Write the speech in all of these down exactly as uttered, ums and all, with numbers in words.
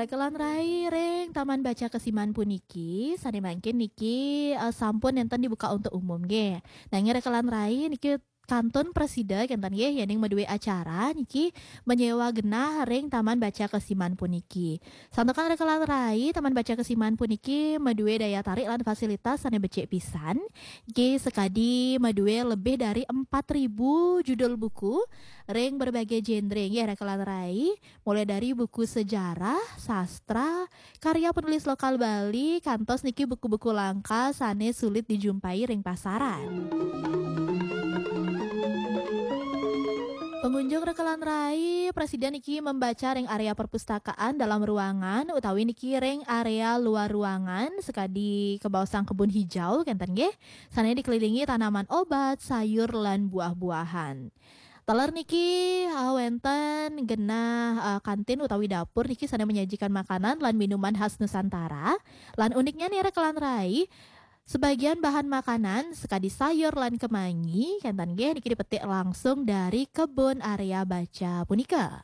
Rekan rai, ring Taman Baca Kesiman puniki, sane mangkin niki, eh, sampun nenten dibuka untuk umum nggih. Nanging rekan rai niki kantun prasida kenten nggih, yening madue acara niki menyewa genah ring Taman Baca Kesiman puniki. Santukan rekan rai, Taman Baca Kesiman puniki madue daya tarik lan fasilitas sane becik pisan. Niki sakadi madue lebih dari empat ribu judul buku ring berbagai genre nggih rekan rai. Mulai dari buku sejarah, sastra, karya penulis lokal Bali, kantos niki buku-buku langka sane sulit dijumpai ring pasaran. Pengunjung rekan rai, prasida niki membaca ring area perpustakaan dalam ruangan utawi niki ring area luar ruangan, sakadi kabaosang kebun hijau kenten nggih, sane dikelilingi tanaman obat, sayur, lan buah-buahan. Taler niki, ah, wenten genah, ah, kantin utawi dapur niki sane menyajikan makanan lan minuman khas Nusantara. Lan uniknya nih rekan rai, sebagian bahan makanan sakadi sayur lan kemangi kenten nggih niki dipetik langsung dari kebun area baca punika.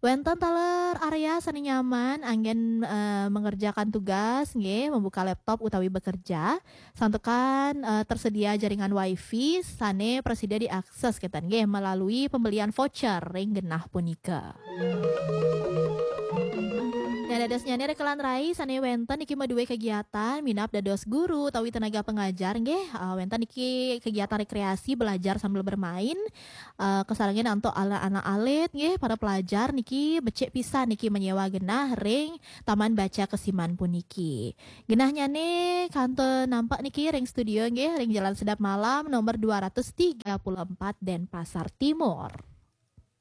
Wenten taler area sane nyaman anggen, eh, mengerjakan tugas nggih, membuka laptop utawi bekerja. Santukan, eh, tersedia jaringan wifi sane prasida diakses kenten nggih melalui pembelian voucher ring genah punika. Nah, dadosnyane rekan rai sane wenten niki madue kegiatan minab dados guru utawi tenaga pengajar nggih, eh, wenten niki kegiatan rekreasi belajar sambil bermain, eh, kasarengin antuk anak-anak alit nggih, para pelajar niki becik pisan niki menyewa genah ring Taman Baca Kesiman puniki. Genahnyane kantun nampak niki ring studio nggih, ring Jalan Sedap Malam nomor dua ratus tiga puluh empat Denpasar Timur.